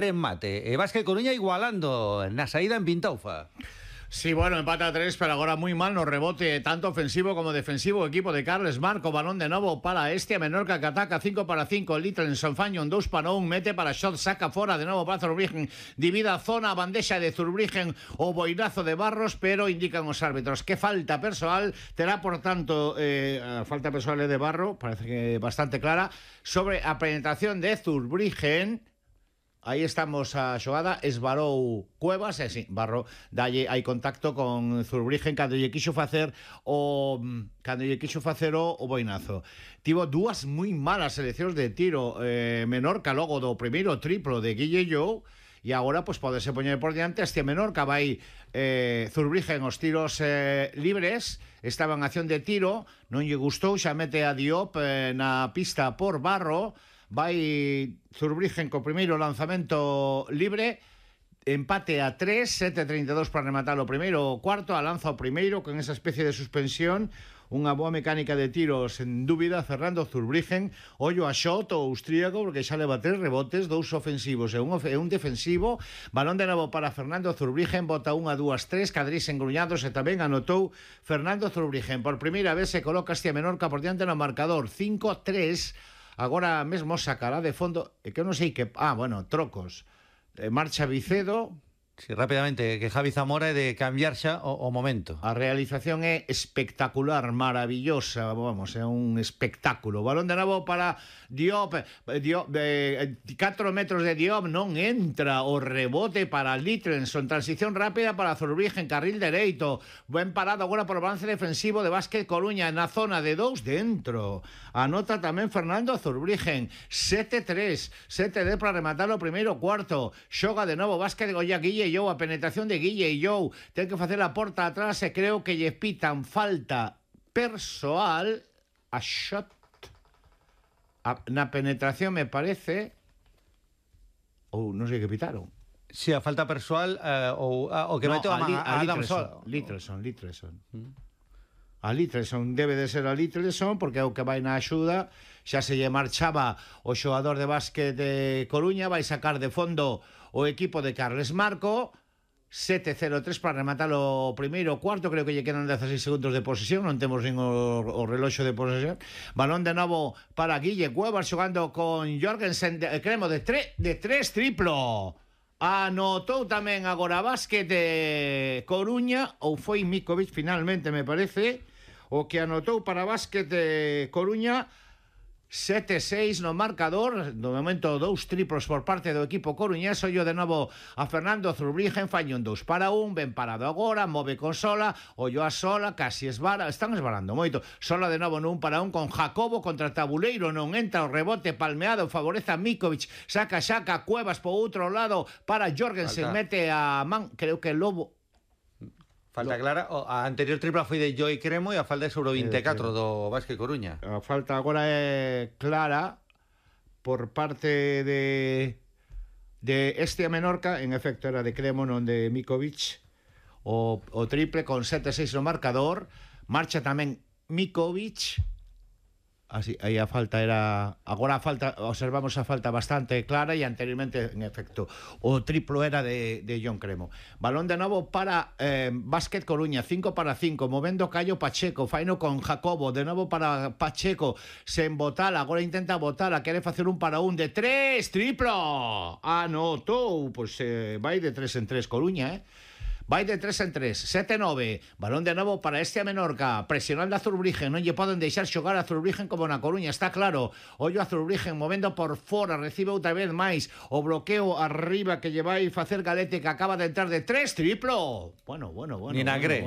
remate. Vázquez Coruña igualando na saída en Pintaufa. Sí, bueno, empata a 3, pero agora moi mal no rebote, tanto ofensivo como defensivo. Equipo de Carles Marco, balón de novo para Estia Menorca, que ataca 5-5, Litrenson Fañón 2-1, mete para Shot, saca fora de novo para Zurbriggen, divida a zona, bandexa de Zurbriggen, o boinazo de Barros, pero indican os árbitros que falta persoal, terá por tanto a falta persoal de Barro, parece que bastante clara, sobre a penetración de Zurbriggen. Aí estamos a xogada, esvarou Cuevas, sí, Barro dalle hai contacto con Zurbriggen cando lle quixo facer o boinazo. Tivo dúas moi malas seleccións de tiro Menorca logo do primeiro triplo de Guille Jou, e agora pois podese poñer por diante este Menorca. Vai Zurbriggen os tiros libres, estaba en acción de tiro, non lle gustou, xa mete a Diop na pista por Barro. Vai Zurbriggen co primeiro lanzamento libre, empate a 3, 7-32 para rematar o primeiro cuarto, a lanza o primeiro con esa especie de suspensión, unha boa mecánica de tiros en dúbida, Fernando Zurbriggen. Ollo a Shot, o austríaco, porque xa leva 3 rebotes, 2 ofensivos e un defensivo. Balón de novo para Fernando Zurbriggen, bota 1, 2, 3, Cadrís engruñados, e tamén anotou Fernando Zurbriggen. Por primeira vez se coloca Estia Menorca por diante no marcador, 5-3. Agora mesmo sacará de fondo, que eu non sei que... trocos. Marcha Vicedo. Sí, rápidamente, que Javi Zamora é de cambiar xa o momento. A realización é espectacular, maravillosa, vamos, é un espectáculo. Balón de novo para Diop, 4 metros de Diop, non entra o rebote para Litrenson, transición rápida para Zurbriggen, carril dereito, ben parado agora por o balance defensivo de Vázquez Coruña na zona de 2 dentro. Anota tamén Fernando Zurbriggen, 7-3, 7-10 para rematar o primeiro cuarto. Xoga de novo Vázquez de Goya, Guille Jou, a penetración de Guille Jou, ten que facer a porta atrás e creo que lle pitan falta persoal a Shot. Na penetración me parece, ou non sei que pitaron. Si, a falta persoal o que meteu a Litrenson. A Litrenson debe de ser a Litrenson, porque é o que vai na axuda. Xa se lle marchaba o xogador de básquet de Coruña, vai sacar de fondo o equipo de Carles Marco. 7-0-3 para rematar o primeiro cuarto, creo que lle quedan 16 segundos de posesión, non temos nin o reloxo de posesión. Balón de novo para Guille Cuevas xogando con Jorgensen, cremo de 3 triplo. Anotou tamén agora Vázquez de Coruña, ou foi Mikovic finalmente, me parece, o que anotou para Vázquez de Coruña. 7-6 no marcador, no momento 2 triplos por parte do equipo coruñés. Ollo de novo a Fernando Zurbriggen, Fañón 2-1, ben parado agora, move con Sola, ollo a Sola, casi esvara, están esvarando moito. Sola de novo no 1-1 con Jacobo contra Tabuleiro, non entra o rebote palmeado, favorece a Mikovic, saca Cuevas por outro lado para Jorgensen, mete a man, creo que Lobo. Falta clara, a anterior tripla foi de Joy Cremo e a falta é sobre o 24 do Vázquez Coruña. A falta agora é clara por parte de Estia Menorca, en efecto era de Cremo, non de Mikovic. O triple con 7-6 no marcador. Marcha tamén Mikovic. Así, aí a falta era... Agora a falta, observamos a falta bastante clara, e anteriormente, en efecto, o triplo era de John Cremo. Balón de novo para Vázquez Coruña, 5-5, movendo Caio Pacheco, faino con Jacobo, de novo para Pacheco, sen botar, agora intenta botar, quere facer 1-1 de 3, triplo! Anotou, pois vai de 3 en 3 Coruña, vai de 3 en 3, 7-9, balón de novo para Estia Menorca, presionando a Zurbriggen, non lle poden deixar xogar a Zurbriggen como na Coruña, está claro. Ollo a Zurbriggen movendo por fora, recibe outra vez máis o bloqueo arriba que lle vai facer Galete, que acaba de entrar de 3, triplo. Bueno. Ni na Gre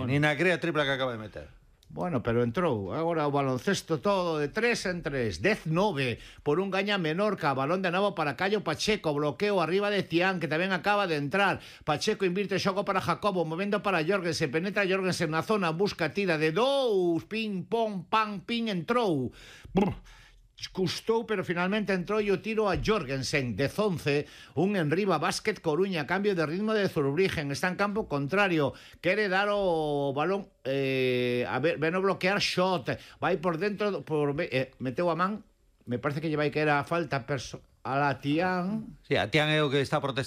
a tripla que acaba de meter. Bueno, pero entrou. Agora o baloncesto todo de 3 en 3. 10-9 por un gaña Menorca. Balón de novo para Caio Pacheco. Bloqueo arriba de Tián, que tamén acaba de entrar. Pacheco invirte xogo para Jacobo. Movendo para Jorgensen. Penetra Jorgensen na zona. Busca tira de 2. Ping, pong, pang, ping. Entrou. Custou, pero finalmente entrou e o tiro a Jorgensen de 11, un enriba Vázquez Coruña, cambio de ritmo de Zurbriggen, está en campo contrario, quere dar o balón a ver, ven a bloquear Shot, vai por dentro, meteu a man, me parece que lle vai que era falta a la Tián. Sí, a Tián é o que está protestando.